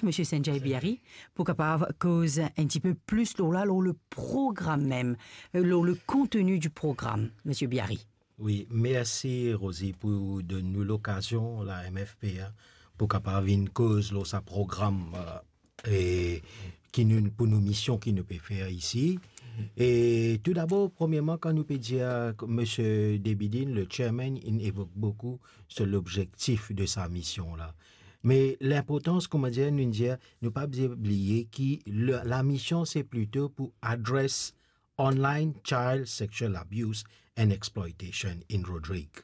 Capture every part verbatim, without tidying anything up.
Misie Sanjay Biari, pou kapav koz enn tipe plis lor la, lor le program mem, euh, lor le konteni di program, Misie Biari. Wi, mersi Rosie pou donn nou lokazion, la M F P A, pou kapav vinn koz lor sa program, euh, e ki nou, pou nou mision ki nou pe fer isi. E toudabor, premierman, kan nou pe dir, Misie Debidin, le chairman, inn evok boukou sur lobzektif de sa mision la. Me linportans, koumadir nou dir, nou pa bizin bliye ki le, lamision se plito pou adres online child sexual abuse and exploitation in Rodrig.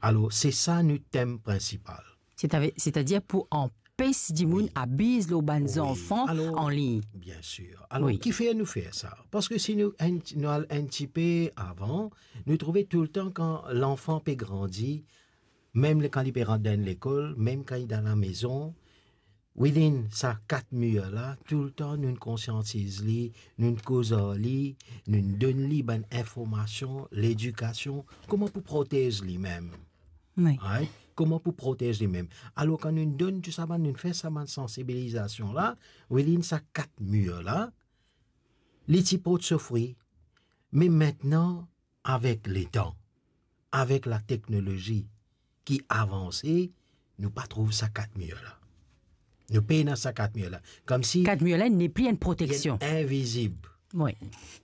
Alor, se sa nou tem prinsipal. Setadir pou anpes dimoun abiz lor bann zanfan an lign. Wi, alor, biensir. Alor, kifer nou fer sa? Parski si nou, enn, nou al enn tipe avan, nou trouve toultan kan lanfan pe grandi, mem le, kan li pe rant dan enn lekol, mem kan li dan lamezon, within sa kat mir la, toultan nou konsiantiz li, nou koz ar li, nou donn li bann informasion, ledikasion, kouma pou protez limem. Wi. Right? Kouma pou protez limem. Alor, kan nou donn tou sa bann, nou fer sa bann sansibilizasion la, within sa kat mir la, li ti port so fri. Me aster, avek letan, avek lateknolozi ki avanse, nou pa trouv sa kat mir la. Nou pena sa kat mir la. Koumsi kat mir la nepli enn proteksion. Li enn invizib. Wi.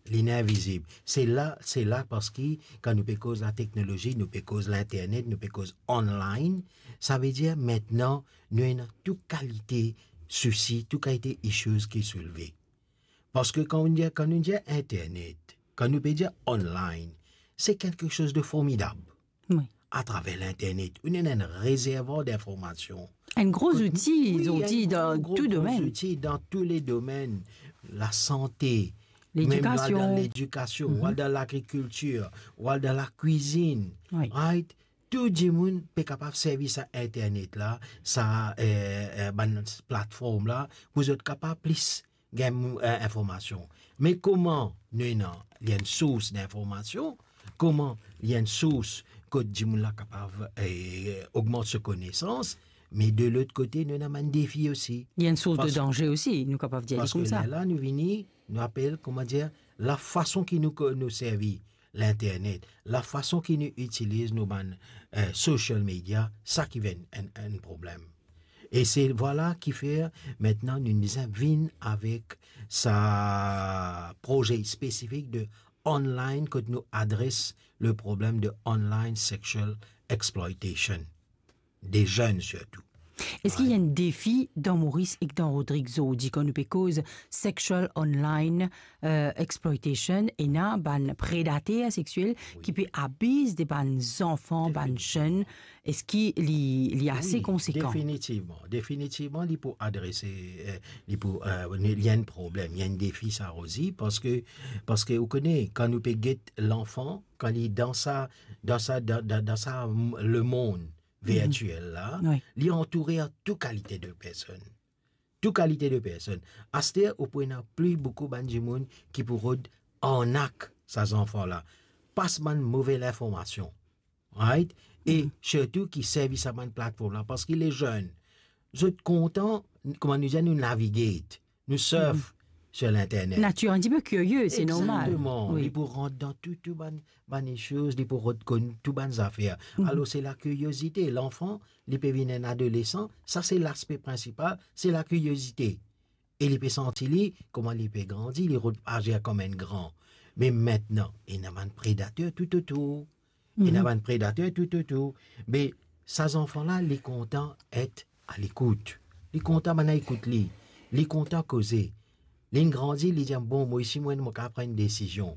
Li enn invizib. Se la, se la parski kan nou pe koz lateknolozi, nou pe koz linternet, nou pe koz online, savedir aster nou ena tou kalite sousi, tou kalite issues ki soulve. Parski kan nou dir, kan nou dir internet, kan nou pe dir online, se kiksoz de formidab. Wi. Atraver linternet, ou ena enn rezervwar dinformasion. Enn gro zouti, wi, zouti enn dan gro, tou gro domenn. Zouti dan tou le domenn. Lasante, mem ledikasion, ledikasion, ou al dan lagrikiltir, ou al dan lakwizinn, wi, right? Tou dimoun pe kapav servi sa internet la, sa, eh, eh, bann platform la, pou zot kapav plis gagn, eh, informasion. Me kouma nou ena, li enn sours dinformasion, kouma li enn sours kot dimoun la kapav, eh, ogmant so konesans, me de lot kote, nou ena bann defi osi. Li enn sours de danze osi, nou kapav dir li koumsa. Parski lerla nou vini, nou apel, koumadir, lafason ki nou ko-, nou servi linternet, lafason ki nou itiliz nou bann, eh, social media, sa ki vinn enn, enn problem. E se, vwala, kifer aster nou bizin vinn avek sa proze spesifik de online kot nou adres le problem de online sexual exploitation. De zenn sirtou. Eski ena enn defi dan Moris ek dan Rodrig zordi, kan nou pe koz sexual online, eh, exploitation, ena bann predater sexiel ki pe abiz de bann zanfan, bann zenn? Eski li, li ase konsekan? Wi, definitivman. Definitivman, li pou adrese, eh, li pou, eh, li enn problem, li enn defi sa osi, parski, parski ou kone, kan nou pe get lanfan, kan li dan sa, dan sa, dan, dan, dan sa, mm, lemond virtiel la, wi, li antoure ar tou kalite de personn. Tou kalite de personn. Aster, ou pou ena pli boukou bann dimoun ki pou rod arnak sa zanfan la. Pas bann move linformasion. Right? E sirtou ki servi sa bann platform la, parski le zenn, zot kontan, kouma nou dir, nou navigate. Nou surf sur l'internet. Natir enn tipe kirie, se normal. Exactement. Wi. Li pou rant dan tou, tou bann, bann issues, li pou rod konn tou bann zafer. Alor, se lakiriozite. Lanfan, li pe vinn enn adolesan, sa se laspe prinsipal, se lakiriozite. E li pe santi li, kouma li pe grandi, li rod azir kouma enn gran. Me aster, ena bann predater toutotour. Ena bann predater toutotour. Me sa zanfan la, li kontan et a lekout. Li kontan bann la ekout li. Li kontan koze. Li grandi, li dir, "Bon, mo isi, mo, mo kapav pran enn desizion."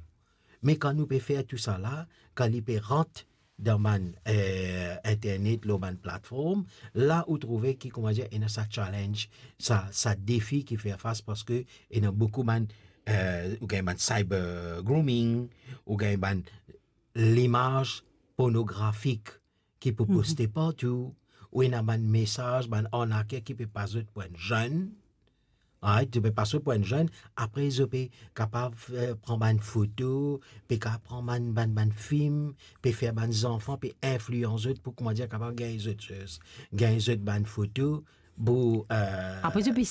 Me kan nou pe fer tou sa la, kan li pe rant dan bann, eh, internet, lor bann platform, la ou trouve ki, kouma dir, ena sa challenge, sa, sa defi ki fer fas, parski ena boukou bann, eh, ou gagn bann cyber grooming, ou gagn bann limaz pornografik ki pou poste partou, ou ena bann mesaz, bann arnaker ki pe pas zot pou enn zenn, right, zot pe pas zot pou enn zenn, apre zot pe kapav, eh, pran bann foto, pe kapav pran bann, bann, bann fim, pe fer bann zanfan, pe inflians zot pou, kouma dir, kapav gagn zot, gagn zot bann foto, pou, euh, Apre, zot pe